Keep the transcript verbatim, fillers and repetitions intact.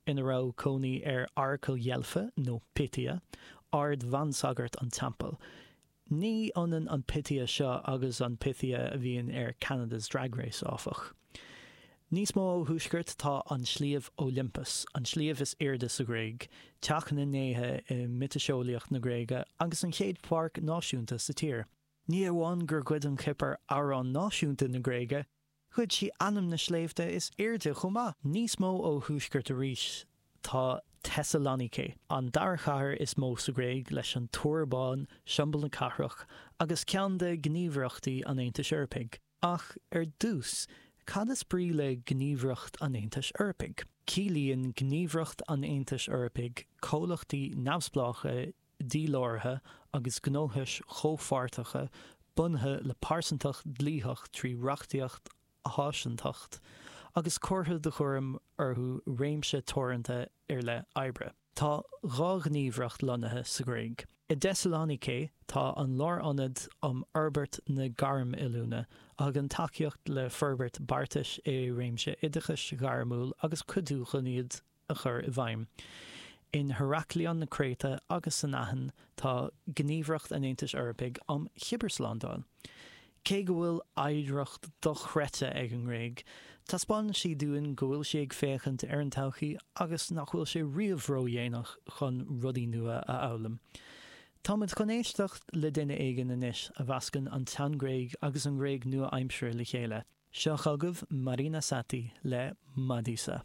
ina raibh cónaí ar Oracal Dheilfe nó Pythia, ard-bhansagart an teampaill. Ní ionann an Pythia seo agus an Pythia a bhíonn ar Canada's Drag Race áfach. Níos mó ó thuaisceart tá an sliabh Olympus, an sliabh is airde sa Ghréig, teach na ndéithe i miotaseolaíocht na Gréige agus an chéad pháirc náisiúnta sa tír. Ní amháin gur ghoid an Chipir amhrán náisiúnta na Gréige, ghoid sí ainm na sléibhte is airde chomh maith. Níos mó ó thuaisceart arís tá Thessaloniki, an dara chathair is mó sa Ghréig leis an Túr Bán, siombail na cathrach, agus ceann de ghníomhaireachtaí an Aontais Eorpaigh. Ach ar dtús, cad is brí le Gníomhaireacht an Aontais Eorpaigh? Ciallaíonn Gníomhaireacht an Aontais Eorpaigh comhlachtaí neamhspleácha díláraithe agus gnóthais chomhpháirteacha bunaithe le pearsantacht dlítheach trí reachtaíocht náisiúnta agus curtha de chúram orthu réimse teoranta ar leith oibre. Tá dhá ghníomhaireacht lonnaithe sa Ghréig. I dTessaloniki tá an Lárionad um Fhorbairt na Gairmoiliúna a thugann tacaíocht le forbairt beartais i réimse oideachais ghairmiúil agus cuidiú chun iad a chur i bhfeidhm. In Heraklion na Créite agus san Aithin tá Gníomhaireacht an Aontais Eorpaigh um Chibearshlándáil. Cé go bhfuil oidhreacht dochreidte ag an nGréig, taispeánann sí dúinn go bhfuil sí ag féachaint ar an todhchaí agus nach bhfuil sé riamh ródhéanach chun rudaí nua a fhoghlaim. Táimid chun éisteacht le duine éigin anois a mheascann an tsean-Ghréig agus an Ghréig nua-aimseartha le chéile. Seo chugaibh Marina Satti le Madisa.